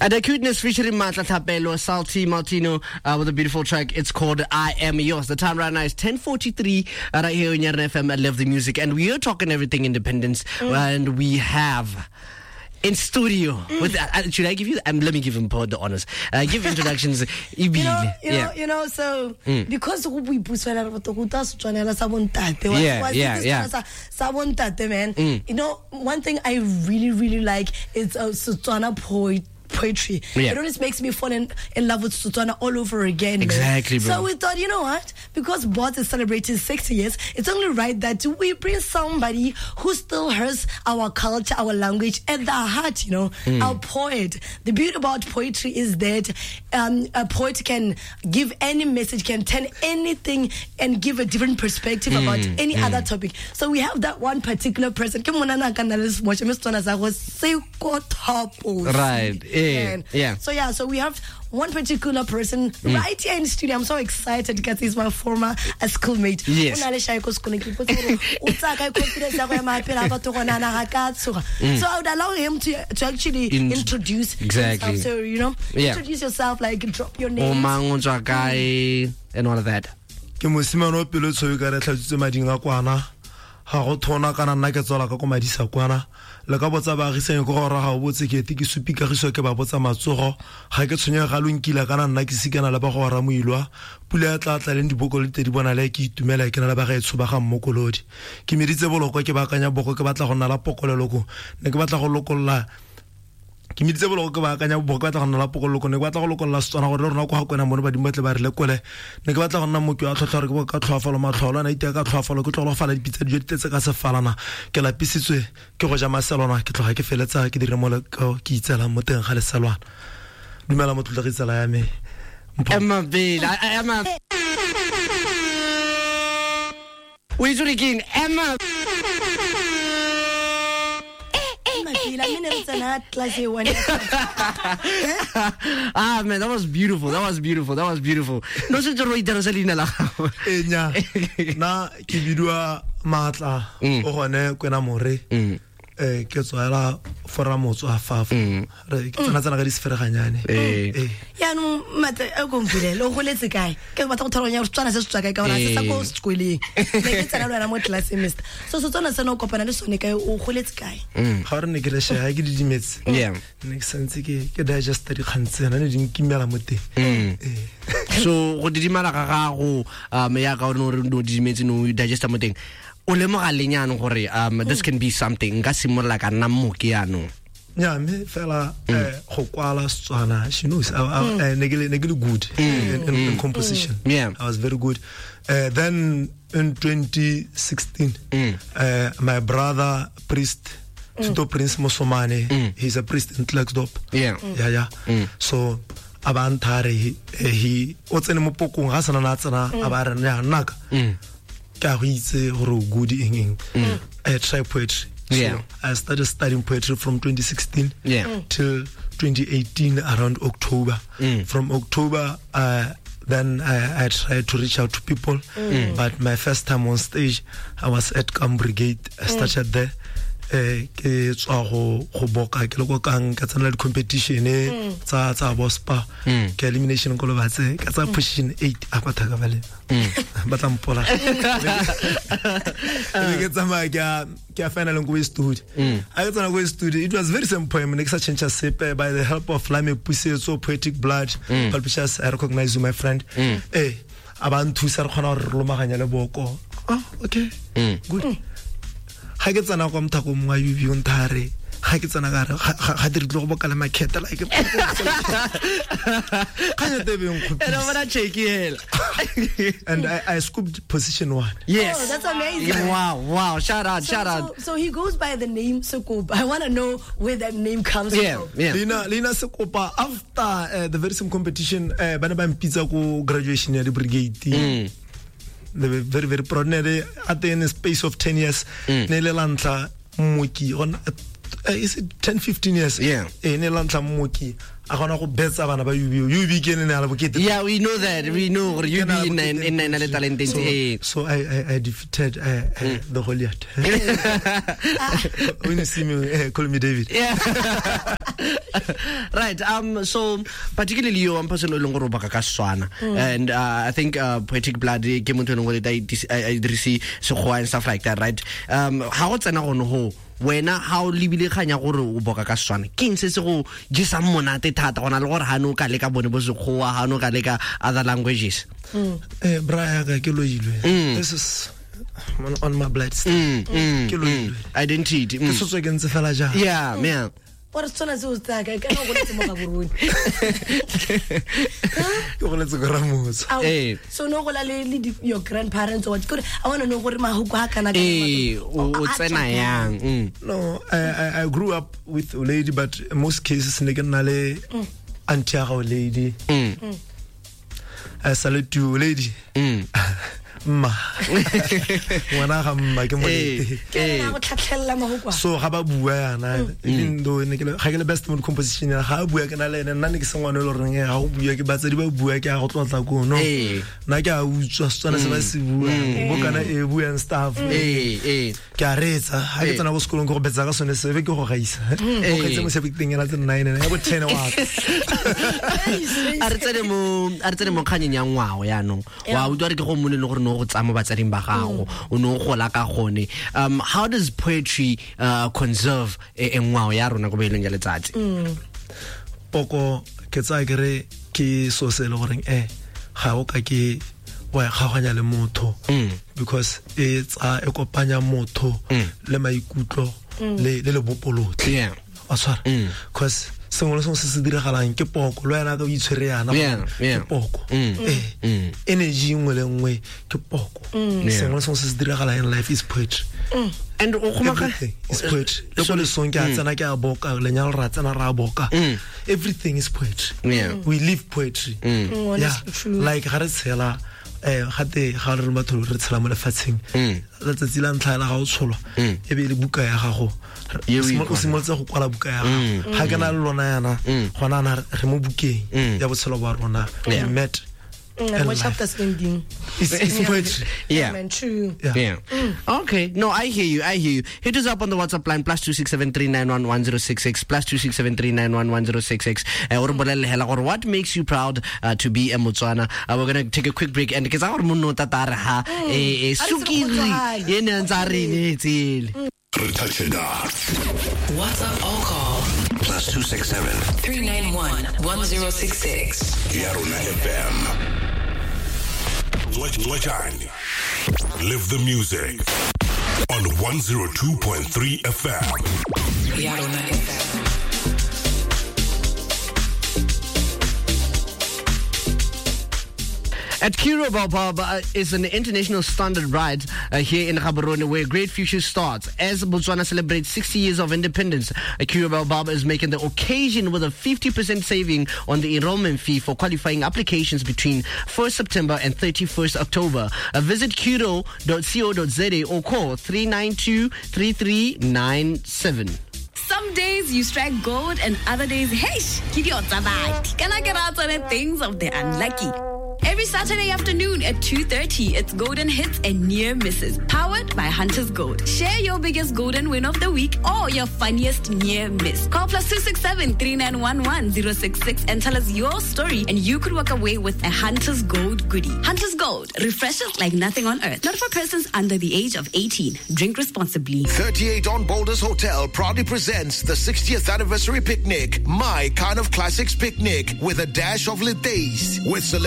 And Acuteness featuring Matla Thapelo, Salty Martino with a beautiful track. It's called I Am Yours. The time right now is 10:43 right here on Yarn FM. I love the music. And we are talking everything independence. And we have in studio with should I give you let me give him the honors. Give introductions. You know, so because we buswela re go ta Setswana sa bontate. Sa bontate, man. You know, one thing I really, really like is Setswana poetry. Yeah. It always makes me fall in love with Setswana all over again. Exactly, bro. So we thought, you know what? Because Bots is celebrating 60 years, it's only right that we bring somebody who still has our culture, our language at the heart, you know, our poet. The beauty about poetry is that a poet can give any message, can turn anything and give a different perspective about any other topic. So we have that one particular person. Right. Yeah. So we have one particular person right here in studio. I'm so excited because he's my former schoolmate. Yes. So I would allow him to actually introduce exactly. himself. So, you know, introduce yourself, like drop your name. And all of that. Ke mosimane o pelo tshweu ka re tlhatsitse mading a kwana. Ga go thona kana nna ke tswala ka ko madisa kwana. Le ka botsa baagisane ko gore ga o botse ke ete ke supi kagiso ke ba botsa matsogo. Ga ke tshwenyega ga lo nkila kana nna ke sikana le ba go ra moilwa. Pula ya tla tla leng diboko le tedi bona le ke itumela ke na le ba gaetsho ba ga mmokolodi. Ke meditse boloko ke baakanya boko ke batla go nna la pokoleloko. Ne ke batla go lokolla. Ke meditse boloko ke baakanya boko ke batla go nna la pokoleloko. Ne ke batla go lokolla Setswana gore le rona ko ga kwena mone badimo ba tle ba re lekole. Ne ke batla go nna mooki wa tlhotlha gore ke bo ka tlhoafalo matlholo ana iteka ka tlhoafalo ke tlogo go fala dipitsa dijo di tletse ka sefalana. Ke lapisitswe ke go ja maselwana ke tloga ke feletsa ke dire mo ke itselang mo teng ga leselwana. Dumela motlotlegi tsala ya me. Emma Bill, Emma. O itse gore ke eng? Emma. Ah man, that was beautiful. That was beautiful. That was beautiful. No se tsoro itera se leina la gago. Enya. Na ke bidiwa Matla o gone kwena more. Ke tswela fora motswa fa fa. Re ke tsena tsena ka di sefereganyane. Yaanong Matla a kompulele o goletse kae? Ke batla go tshwaraganya gore Setswana se se tswa kae ka gore se sa ko sekoleng. Ne ke tsena le wena mo classeng, mister. So Setswana sena o kopana le sone kae, o goletse kae? Ga re ne ke le shaya ke didimetse. Ne ke santse ke digesta dikgang tsena ne di nkimela mo teng. So go didimala ga gago ya ka o ne o didimetse no digesta mo teng. O lemoga leng jaanong gore this can be something nka simolola ka nna mooki jaanong? Yeah, me fela go kwala Setswana, she knows ne ke le good in composition. Yeah. I was very good. Then in 2016 my brother priest Tito Prince Mosomane, he's a priest in Klerksdorp. Yeah. Yeah. So a ba nthare he o tsene mo pokong ga sana na tsena a ba re nna naka. Ka go itse gore o good eng. I try poetry. Yeah. So I started studying poetry from 2016 till 2018 around October. From October, then I tried to reach out to people. But my first time on stage, I was at Camp Brigade. I started there. Ke tswa go boka ke le ko kang ka tsena di competition tsa bospa ke elimination ko lobatse ka tsa position 8 a kwa thaka bale ba tla mpola ke tsamaya ke a final ko studio a ke tsena ko studio. It was very same poem ne ke sa change sepe by the help of Lame Pusetso Poetic Blood Publishers. I recognize you, my friend. A ba nthusa re kgona gore re lomaganya le boko. Oh, okay. Good. Ga ke tsena kwa mothako mongwe wa UB o nthare ga ke tsena ka re ga dire tlo go bokala makhetha like kganya tebeng go. And I scooped position 1. Yes. Oh, that's amazing. Wow. Shout out, shout out. So he goes by the name Sekopa. I want to know where that name comes from. Yeah. Lina Sekopa, after the very same competition, ba ne ba mpitsa ko graduation ya di brigade. They were very, very proud. At the in space of 10 years, ne le lantla mooki on is it 10 15 years? Yeah. Ne lantla mooki a gona go betsa bana ba UB. UB ke ne ala bokete. Yeah, we know that. We know UB in in le talent. So I defeated the Goliath. When you see me, call me David. Yeah. Right, so particularly you, one person o leng gore o baka ka Setswana, and I think Poetic Blood ke motho e leng gore a dirise Sekgowa and stuff like that, right? Ha go tsena gone ho wena, ha o lebile kganya gore o boka ka Setswana, ke eng se se go jesang monate thata go na le gore ha ne o ka leka bone bo Sekgowa, ha ne o ka leka other languages? Bra yaka, ke loilwe. This is on my blood. Ke loilwe. Identity. Ke sotswe ke ntse fela jang. Yeah. Ore Setswana se o tsaya kae? Kana o goletse mo Gaborone? Ke goletse ko Ramotswa. Ao, so no gola le your grandparents or what? Kore I want to know gore mahoko ha kana. Ee, o tsena yang? No, I grew up with a lady, but in most cases ne ke nna le auntie ya gago lady. I salute you, lady. Mma. Ngwana ga mma ke molete. Ke ena go tlhatlhelela mahoko a. So ga ba bua yana, even though ne ke le, ga ke le best mo composition ya ga bua ke na le ene, nna ne ke se ngwana e le goreng ga go bua ke batsadi ba bua ke a go tlotla ko, no. Nna ke a utswa Setswana se ba se buang, bo kana e bua and stuff. Ke a reetsa, ga ke tsena ko sekolong ke go betsa ka sone se be ke go gaisa. Go gaisa mo sebeteng ena tse 9 ena ya bo 10 wa ka. A re tsene mo kganyeng ya ngwao yaanong. Wa utlwa re ke go mone le gore no go tsaya mo batsading ba gago, o ne o gola ka gone. How does poetry conserve e ngwao ya rona ko boelong ya letsatsi? Poko ke tsaya ke re ke so se e le goreng ga o ka ke wa e kgaoganya le motho, because e tsa e kopanya motho le maikutlo le lebopo lotlhe. Wa tshwara, cause sengwe le sengwe se se diragalang ke poko, le wena ka o itshwere yana, ke poko. Energy nngwe le nngwe ke poko. Sengwe le sengwe se se diragalang in life is poetry. And o Everything is poetry. Le ko lesong ke a tsena ke a boka, lenyalo ra tsena ra boka. Everything is poetry. We live poetry. Yeah. Honestly, true. Like ga re tshela, gate ga re re batho re tshela mo lefatsheng, letsatsi la ntlha la ga o tsholwa e be e le buka ya gago. Ye o O simolotse go kwala buka ya gago. Ga ke na le lona yana gona ana re mo bukeng ya botshelo ba rona. We met in Mo life. chapters ending. It's poetry. Man, true. Yeah. Yeah. Okay. No, I hear you. I hear you. Hit us up on the WhatsApp line +267 391 1066, +267 391 1066. O re bolelle hela gore what makes you proud to be a Motswana. We're gonna take a quick break and ke tsa gore monno o tata re ha A re se re sukiri kgotsofale. e ne ntse a re neetsele. Re touch it up. WhatsApp or call +267 391 1066. Yarona FM. Lejani. Live the music on 102.3 FM. Yarona FM. At Curro Baobab is an international standard ride here in Gaborone where great future starts. As Botswana celebrates 60 years of independence, Curro Baobab is making the occasion with a 50% saving on the enrollment fee for qualifying applications between 1st September and 31st October. Visit curro.co.za or call 392 3397. Some days you strike gold and other days, hey, can I get out on the things of the unlucky? Every Saturday afternoon at 2:30, it's Golden Hits and Near Misses, powered by Hunters Gold. Share your biggest golden win of the week or your funniest near miss. Call +267 3911 066 and tell us your story, and you could walk away with a Hunters Gold goodie. Hunters Gold refreshes like nothing on earth. Not for persons under the age of 18. Drink responsibly. 38 on Boulders Hotel proudly presents the 60th anniversary picnic, My Kind of Classics Picnic, with a dash of Letays, with celebrities.